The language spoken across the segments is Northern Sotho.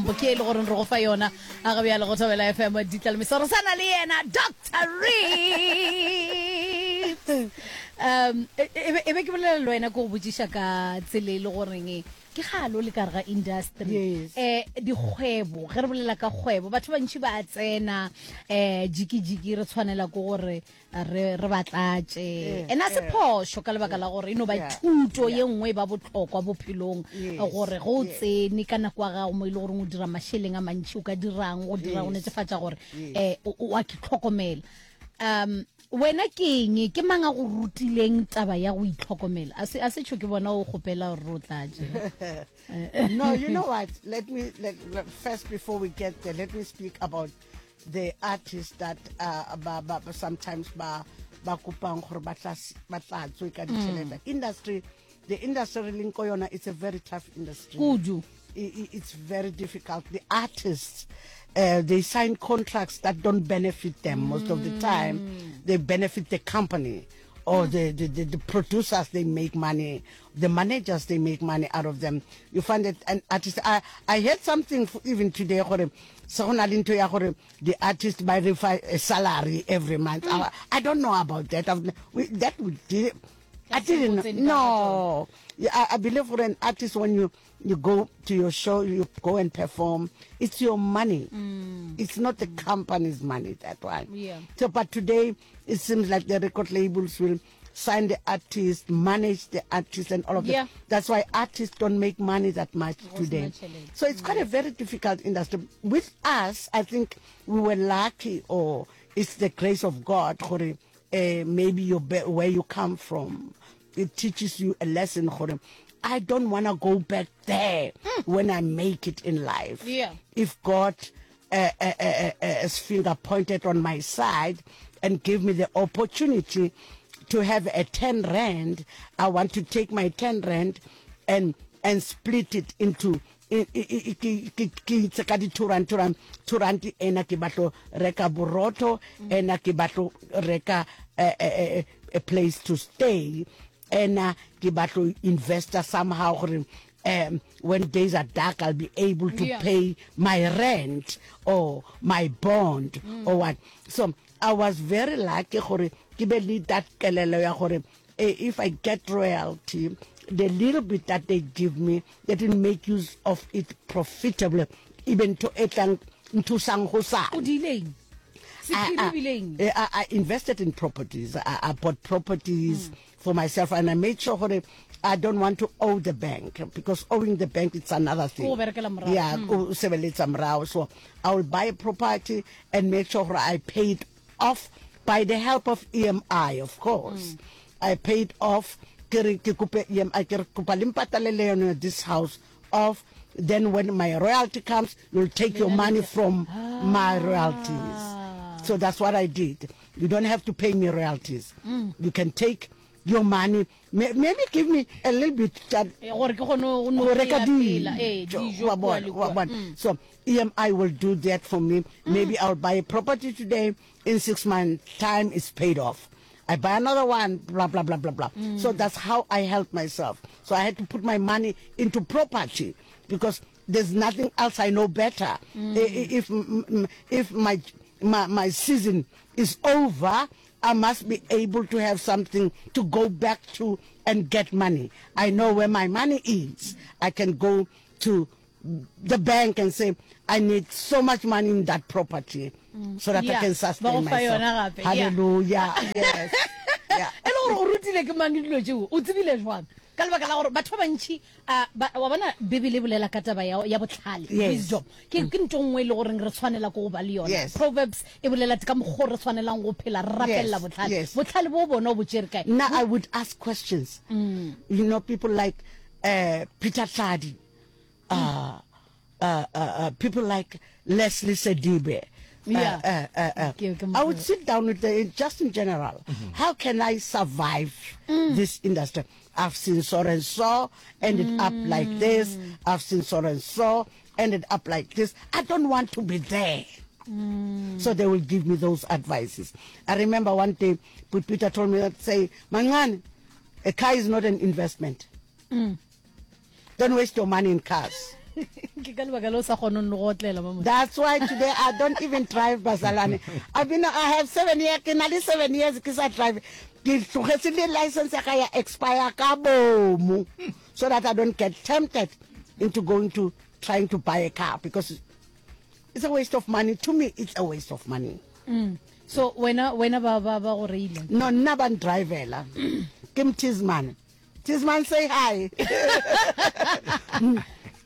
tlhompho ke e le goreng re go fa yona a ga bjale go Thobela FM Ditlalemiso re sana le yena Dr. Reeves um e e be e be ke bolela le wena ke go botšiša ka tsela e le goreng ke galo le ka re ga industry Yes. eh dikgwebo ge re bolela ka kgwebo batho ba bantši ba tsena eh jiki jiki re tshwanela ke gore re re ba tlatše ene a se phošo ka lebaka la gore e no ba thuto ye nngwe e ba botlhokwa bophelong gore ge o tsene ka nako ya gago mo e le goreng o dira mašeleng a mantši o ka dirang go dira go netefatša gore um o a ke tlhokomela um wena ke eng ke mang a go rutileng taba ya go itlhokomela a se a se tšho ke bona o kgopela gore re o tlatše no you know what let me let, let, first before we get there let me speak about the artists that uh, ba, ba, sometimes ba ba kopang gore ba tla ba tlatswe ka ditšhelete mm. industry the industry re leng ko yona it's a very tough industry kudu it's very difficult the artists uh, they sign contracts that don't benefit them mm. most of the time mm. they benefit the company or mm. the, the, the, the producers they make money the managers they make money out of them you find that an artist i i heard something even today gore se go na le ntho ya gore the artist ba re fa a salary every month mm. I, I don't know about that I've, we, that we did I didn't know. No, I, I believe for an artist when you you go to your show, you go and perform, it's your money. Mm. It's not the company's money, that one. Yeah. So, but today, it seems like the record labels will sign the artist, manage the artist, and all of yeah. that. That's why artists don't make money that much today. So it's quite a very difficult industry. With us, I think we were lucky, or it's the grace of God, uh, maybe your where you come from. It teaches you a lesson. I don't want to go back there mm. when I make it in life. Yeah. If God uh, uh, uh, uh, finger pointed on my side and give me the opportunity to have a 10 rand, I want to take my 10 rand and and split it into ke itse ka di-two rand two rand two rand ena ke batlo reka borotho ena ke batlo reka eh, eh, eh, a place to stay ena ke batlo investa somehow gore um when days are dark i'll be able to yeah. pay my rent or my bond mm. or what so i was very lucky gore ke be le that kelelo ya gore eh, if i get royalty the little bit that they give me they didn't make use of it profitably even to e tlang nthusang go sa o dileng I, I, I invested in properties. I, I bought properties mm. for myself and I made sure gore I don't want to owe the bank because owing the bank it's another thing. Yeah, mm. o sebeletsa morao. So I will buy a property and make sure gore I pay it off by the help of EMI of course. Mm. I paid off ke re ke kope EMI ke re kopa le mpatalele yone this house off then when my royalty comes you'll take your money from ah. my royalties so that's what i did you don't have to pay me royalties mm. you can take your money maybe give me a little bit eh, gore ke kgone go reka eh, dijo wa bona mm. so EMI will do that for me mm. maybe I'll buy a property today in 6 months time it's paid off I buy another one, blah, blah, blah, blah, blah. Mm. So that's how I help myself. So I had to put my money into property because there's nothing else I know better. Mm. If, if my, my, my season is over, I must be able to have something to go back to and get money. I know where my money is. I can go to the bank and say, I need so much money in that property mm. so that yeah. I can sustain myself. Hallelujah. Yes. Yeah. E le gore o rutile ke mang dilo tšeo o tsebile jwang ka lebaka la gore batho ba bantšhi wa bona bibele e bolela ka taba ya botlhale wisdom ke ke ntho nngwe e le goreng re tshwanela ko go ba le yona proverbs e bolela ka mokgwa re tshwanelang go phela re rapelela botlhale botlhale bo bona o bo tšere kae nna i would ask questions mm. you know people like uh, peter tladi uh, uh, uh, uh, people like Leslie Sedibe. Uh, yeah. Uh, uh, uh, I would sit down with the, just in general. Mm -hmm. How can I survive mm. this industry? I've seen so and so ended mm. up like this. I've seen so and so ended up like this. I don't want to be there. Mm. So they will give me those advices. I remember one day, Peter told me that say, Mangan, a car is not an investment. Mm. Don't waste your money in cars. Ke ka lebaka le o sa kgoneng le go otlela mama. That's why today I don't even drive bazalwane. I've been I have 7 years ke na le 7 years ke sa drive. Ke tlogetse le license ya ka ya expire ka bomo so that I don't get tempted into going to trying to buy a car because it's a waste of money to me it's a waste of money. Mm. So wena wena ba ba ba go reile. No nna ba ndrivela. Ke mthisman. Tisman say hi.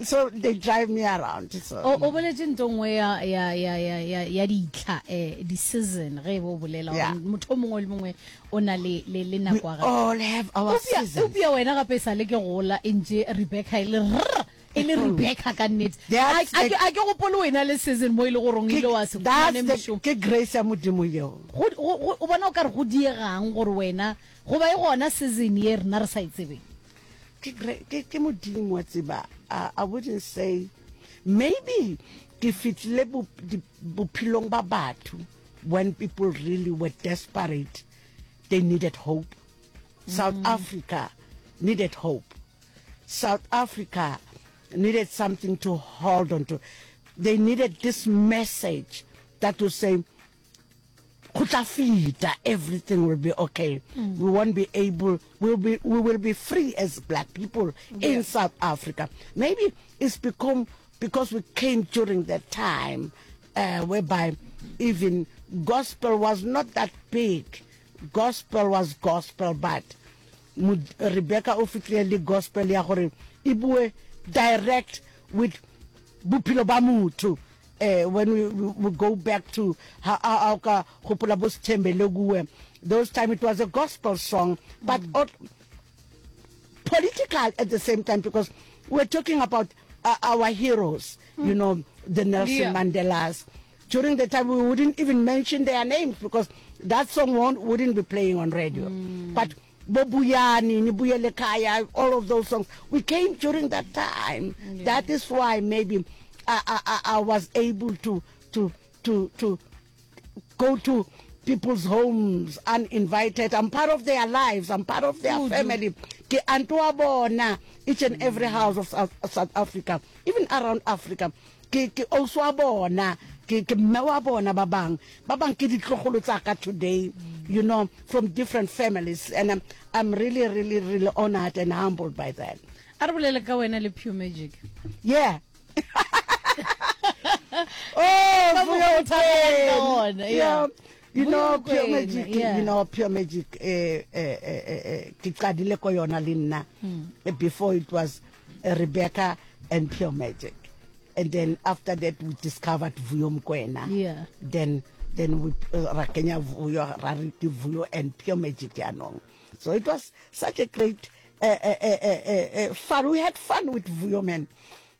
so they drive me around. So. O o boletse ntho nngwe ya ya ya ya ya ya ditlha eh di season ge e bo bolela gore motho o mongwe le mongwe o na le le le nako ya gagwe. All have our seasons. Eupša wena gape e sa le ke gola e ntše Rebecca e le rr e le Rebecca ka nnete. A ke a ke gopole wena le season mo e le goreng ile wa se fumane mošomo. Ke grace ya Modimo yeo. Go o bona o ka re go diegang gore wena Goba e gona season ye rena re sa e tsebeng? Ke, ke, ke Modimo wa tseba. I, I wouldn't say. Maybe ke fihlile bo, di, bophelong ba batho when people really were desperate. They needed hope. South mm. Africa needed hope. South Africa needed something to hold on to. They needed this message that would say, go tla feta everything will be okay mm. we won't be able we'll be we will be free as black people yeah. in south africa maybe it's become because we came during that time uh, whereby even gospel was not that big gospel was gospel but rebecca o fitlile le gospel ya gore e bue direct with bophelo ba motho eh when we, we, we go back to ha a ka gopola bo Sithembele kuwe those time it was a gospel song but mm. political at the same time because we're talking about uh, our heroes mm. you know the Nelson yeah. Mandelas during the time we wouldn't even mention their names because that song won't, wouldn't be playing on radio mm. but Bo Buyani, Nibuyele Kaya, all of those songs. We came during that time. Yeah. That is why maybe I, I, I was able to, to, to, to go to people's homes uninvited. I'm part of their lives. I'm part of their family. Ke anto wa bona each and every house of South, South Africa, even around Africa. Ke ke ausi wa bona, ke ke mme wa bona ba bang. Ba bang ke ditlogolo tsa ka today, you know, from different families and I'm, I'm really really really honored and humbled by that. A re bolele ka wena le Pure Magic. Yeah. oh, Vuyo Yeah. You know Pure Magic, yeah. you know Pure Magic eh eh eh, eh, eh ke qadile ko yona le nna hmm. eh, before it was eh, Rebecca and Pure Magic. And then after that we discovered Vuyo Mokoena. Yeah. Then then we uh, ra kenya Vuyo ra re ke Vuyo and Pure Magic yanong. So it was such a great uh, uh, uh, uh, uh, fun. We had fun with Vuyo man.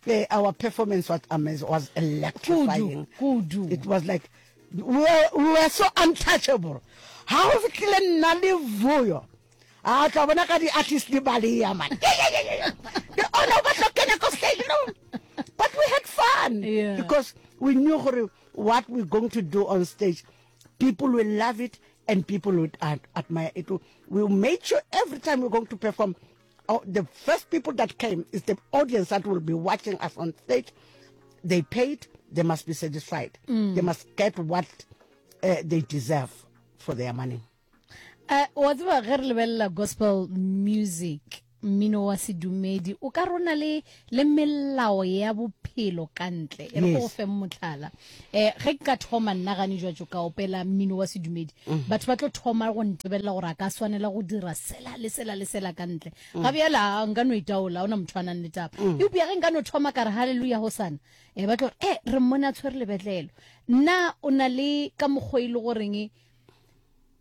Uh, our performance was amazing, was electrifying. Kudu, kudu. It was like we were, we were so untouchable. Ha o fitlhile nna le Vuyo. A tla bona ka di-artist di baleya man. The owner ba tlo kena ko stage no. But we had fun yeah. because we knew gore what we're going to do on stage people will love it and people would ad admire it. We made sure every time we're going to perform oh, the first people that came is the audience that will be watching us on stage. They paid, they must be satisfied. Mm. They must get what uh, they deserve for their money. Uh, wa tseba ge re lebelela gospel music mmino wa sedumedi o ka rona le le melao ya bophelo ka ntle e re go fe motlhala eh ge ke ka thoma nna gane jwa ka opela mmino wa sedumedi mm. batho ba tlo thoma go ntebelela gore a ka swanela go dira sela le sela le sela ka ntle mm. ga bjala nka no itaola ona motho a nang le taba mm. eupša ge nka no thoma ka re haleluya go sana e ba tlo e re mmone a tshwere lebetlelo nna o na le ka mokgwa e le goreng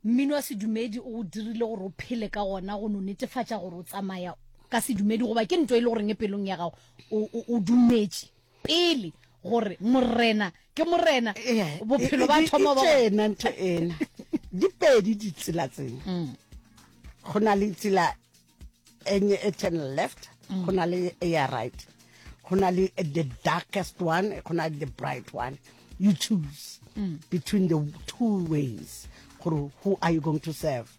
Mmino wa sedumedi o go dirile gore o phele ka gona go no netefatša gore o tsamaya ka sedumedi goba ke nto e le goreng e pelong ya gago o, o, o dumetše pele gore morena ke morena bophelo ba thoma ba tšena ntho ena di pedi ditsela tsena mm. go na le tsela enye e turn left mm. go na le e ya right go na le the darkest one go na le the bright one you choose mm. between the two ways gore who are you going to serve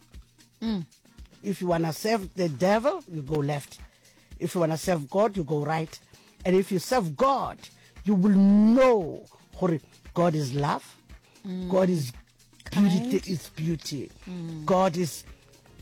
mm. if you want to serve the devil you go left if you want to serve god you go right. And if you serve God, you will know gore God is love, mm. God is beauty, is beauty. Mm. God is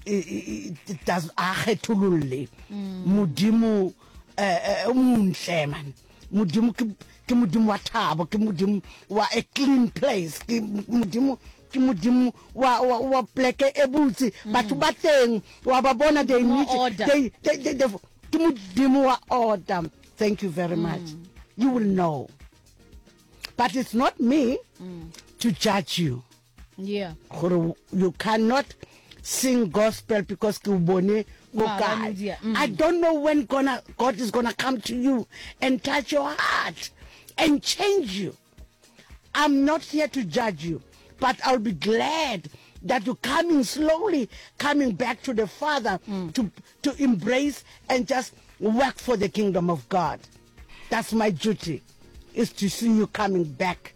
it does a kgethololle mm. modimo eh, eh, o montle man modimo ke ke modimo wa thabo ke modimo wa a clean place ke modimo ke modimo wa wa wa pleke e botse mm. batho ba teng wa ba bona they need they, they, they, they ke modimo wa order thank you very much mm. you will know but it's not me mm. to judge you yeah gore you cannot sing gospel because ke o bone ko kae mm. i don't know when gonna, god is gonna come to you and touch your heart and change you i'm not here to judge you but i'll be glad that you're coming slowly coming back to the father mm. to, to embrace and just work for the kingdom of god that's my duty is to see you coming back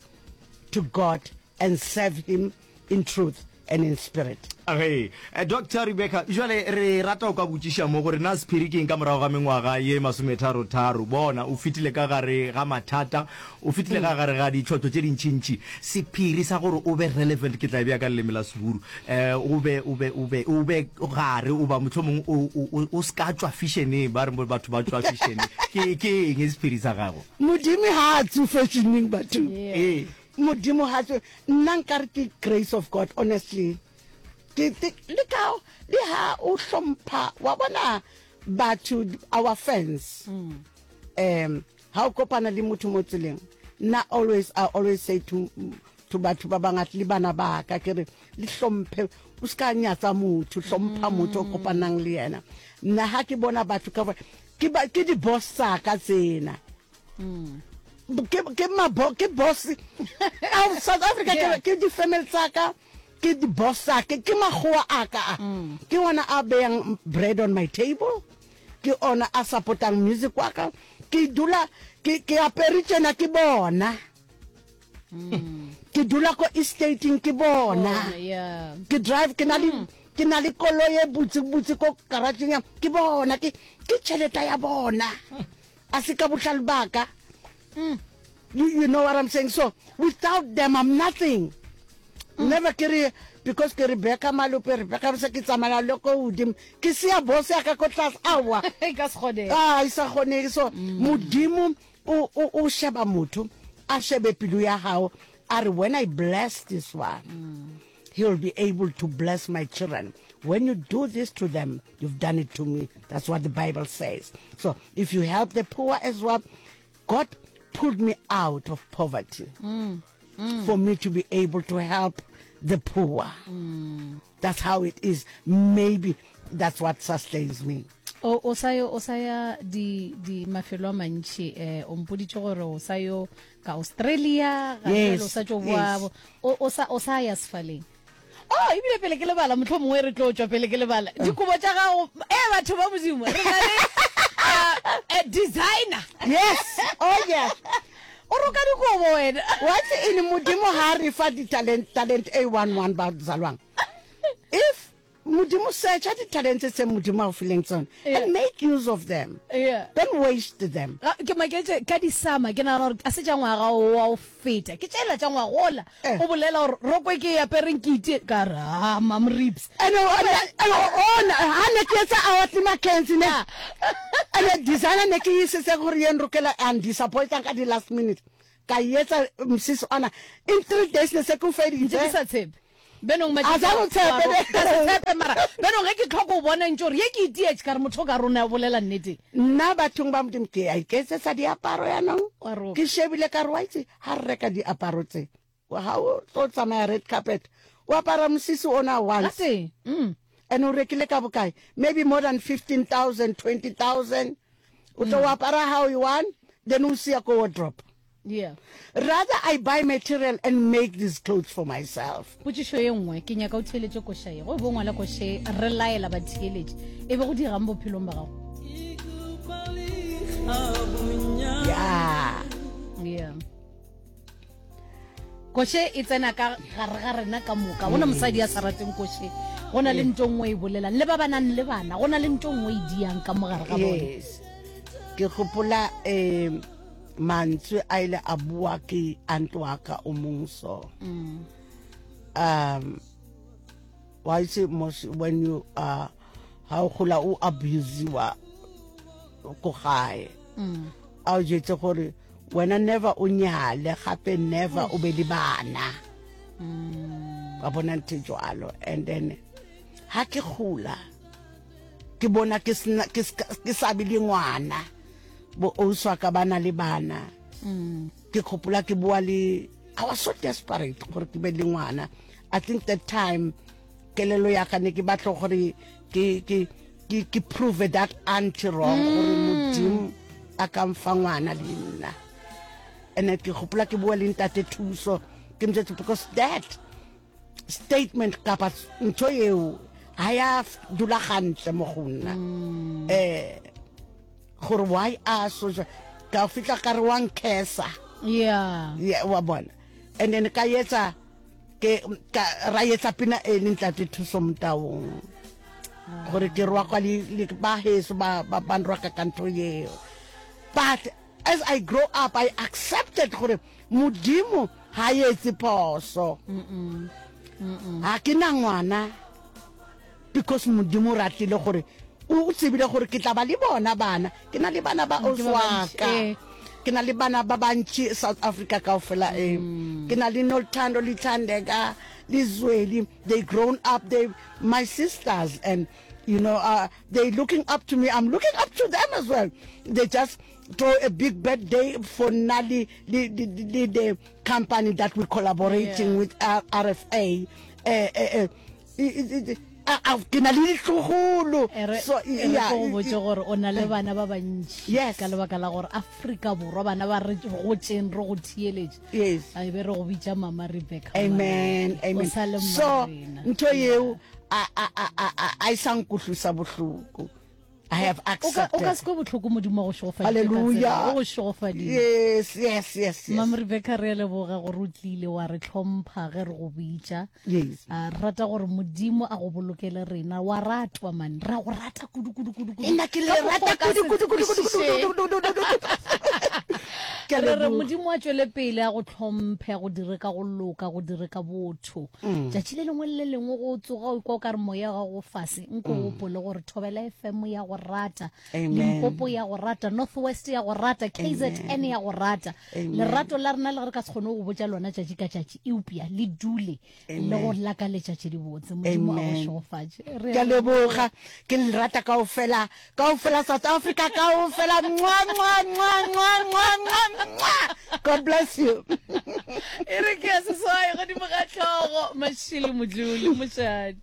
to god and serve him in truth and in spirit. Ge, Doctor Rebecca, jwale re rata go ka botšiša mo gore na sephiri ke eng ka morago ga mengwaga ye masometharo-tharo? Bona, o fetile ka gare ga mathata, o fetile ka gare ga ditlhohlo tše dintši-ntši. Sephiri sa gore o be relevant, ke tla e bea ka leleme la Seburu, eh, o be, o be, o be, o be gare, o ba mohlomong o, o, o, o se ka tšwa fešeneng, ba re batho ba tšwa fešeneng. Ke, ke eng sephiri sa gago? Modimo ha a tswe fešeneng, bathong. Ee. Modimo ga tswe nna nkare ke grace of God honestly ke le ka le ha o hlompha wa bona batho our fans mm. um ha o kopana le motho mo tseleng nna always i always say to to batho ba bangata le bana ba ka ke re le hlomphe o se ka nyatsa motho hlompha mm. motho o kopanang le yena nna ha ke bona batho ka ke ba ke di boss tsa ka tsena mm. ke ke mabo ke boss out South Africa yeah. ke di family tsa ka ke di boss tsa ke ke magoa a ka a mm. ke ona a beyang bread on my table ke ona a supportang music wa ka ke dula ke ke apere tsena ke bona mm. ke dula ko estating ke bona oh, ke drive ke na le mm. ke na le koloi e butse butse ko garageng ya ke bona ke ke tšhelete ya bona A se ka bohlale ba ka. Mm. You, you know what I'm saying? So, without them, I'm nothing. Mm. Never ke re, because ke Rebecca Malope, Rebecca se ke tsamaya le ko godimo. Ke sia boss ya ka ko tlase, aowa. E ka se kgonege. Ah, e sa kgonege. So, mm. Modimo o, o, o sheba motho, a shebe pelo ya gago, a re, when I bless this one, mm. He will be able to bless my children. When you do this to them, you've done it to me. That's what the Bible says. So if you help the poor as well, God pulled me out of poverty mm. Mm. for me to be able to help the poor. Mm. That's how it is. Maybe that's what sustains me. O, o sa yo o sa ya di di mafelo a mantši eh o mpoditše gore o sa yo ka Australia ga Yes, jwale o sa tšo boa yes. o o sa o sa ya sefaleng oh ebile pele ke lebala motlho mongwe re tlo tšwa pele ke lebala dikobo tša gago e batho ba modimo re na le uh, a designer Yes. Oh yeah. o roka dikobo wena Wa itse eng Modimo ha re fa di-talent talent e one one ba zalwang. If Modimo searcha di-talents tse Modimo a o fileng tsone Yeah. and make use of them. Yeah. Don't waste them. Ga- ke maketše ka disama ke nagana gore a se tša ngwaga o wa o feta ke tšela tša ngwagola Eh. o bolela gore roko e ke e apereng ke itie ka re ah mam ribs And and ona ha ne ke etsa our Mackenzie ne. Ah. And designer ne ke isetse gore ye nrokela and disappointang ka di last minute. Ka e etsa mosese ona in 3 days ne se ke o ntse ke feditse. sa tshepe benong A sa go tshepe ne. ka se tshepe mara benong ge ke tlhoka o bona ntse gore ye ke itietše ka re motho o ka rona o bolela nnete Nna bathong ba Modimo ke a iketsetsa diaparo yanong. Wa roka. Ke shebile ka re wa itse ha re reka diaparo tse ha o tlo tsamaya red carpet o apara mosese ona once Gate mm. and o rekile ka bokae maybe more than 15000 20000 o tlo o apara how you want then o sia ko wardrobe Yeah. Rather I buy material and make these clothes for myself. Potšišo ye nngwe, ke nyaka o theeletše koša ye. Go be o ngwala koša ye, re laela batheeletši. E be go dirang bophelong ba gago? Yeah. Yeah. Koše e tsena ka gare ga rena ka moka. Go na mosadi a sa rateng koše. Go na le ntho nngwe e bolelang. Le ba ba nang le bana, go na le ntho nngwe e diang ka mo gare ga bone. Yes. Ke gopola um mantswe a ile a bua ke aunt wa ka o mong so. Um wa itse mos when you are ha o gola o abusiwa ko gae. A o jetse gore wena never o nyale gape never o be le bana. Wa bona ntho e jwalo and then ha ke gola ke bona ke sena ke ke sa be le ngwana bo ausi wa ka ba na le bana mm. ke gopola ke boa le I was so desperate gore ke be le ngwana I think that time kelelo ya ka ne ke batla gore ke ke ke ke prove that auntie wrong gore mm. modimo a ka mfa ngwana le nna and ke gopola ke boa le ntate thuso ke mjetse because that statement kapa ntho eo ha ya dula gantle mo go nna um gore why a so ka fitlha ka re wa nkhesa yeah yeah wa bona and then ka etsa ke ka ra etsa pina e le ntate thuso motaung gore ke rwa kwa le ba heso ba ba ba nrwaka ka ntho eo but as i grow up i accepted gore Modimo ga a etse phoso. Ga ke na ngwana because Modimo o ratile gore o tsebile gore ke tla ba le bona bana. Ke na le bana ba ausi wa ka. Eh. Ke na le bana ba bantši South Africa kaofela e. Mm. Ke na le Nolthando le Thandeka le Zweli. They grown up they my sisters and you know uh, they looking up to me. I'm looking up to them as well. They just throw a big birthday for nna le, le, le, le the company that we're collaborating yeah. with R RFA eh, eh, eh, ke na le ditlogolo so ya go botse gore o na le bana ba bantši yes. ka lebaka la gore Afrika Borwa bana ba re gotseng re go theeletše yes a be re go bitša mama Rebecca amen amen so ntho yeo a a a a a e sa nkutlwisa bohloko I have accepted. O ka se kwe bohloko Modimo wa go šegofaditše. Hallelujah. O go šegofaditše. Yes, yes, yes, yes. Mam Rebecca re a leboga gore o tlile wa re hlompha ge re go bitša. Yes. A re rata gore Modimo a go bolokele rena. Wa ratwa man. Ra go rata kudu kudu kudu kudu. Nna ke le rata kudu kudu kudu kudu kudu kudu kudu. Ke re re Modimo a tšwele pele a go hlomphe, a go dire ka go loka, go dire ka botho. Mm. Tšatši le lengwe le le lengwe go tsoga o ikwa o ka re moya wa gago fase, nko mm. gopole gore Thobela FM ya go rata, Limpopo ya go rata, North West ya go rata, KZN ya go rata. Lerato la rena le ge re ka se kgone go botša lona tšatši ka tšatši, eupša le dule le go lakaletša tše dibotse. Modimo a go šegofatše. Ke a leboga, ke le rata kaofela, kaofela South Africa kaofela. Mwa mwa mwa mwa mwa mwa mwa. God bless you. E re ke ya seswai godimo ga hlogo, Mashilo Modluli, mošate.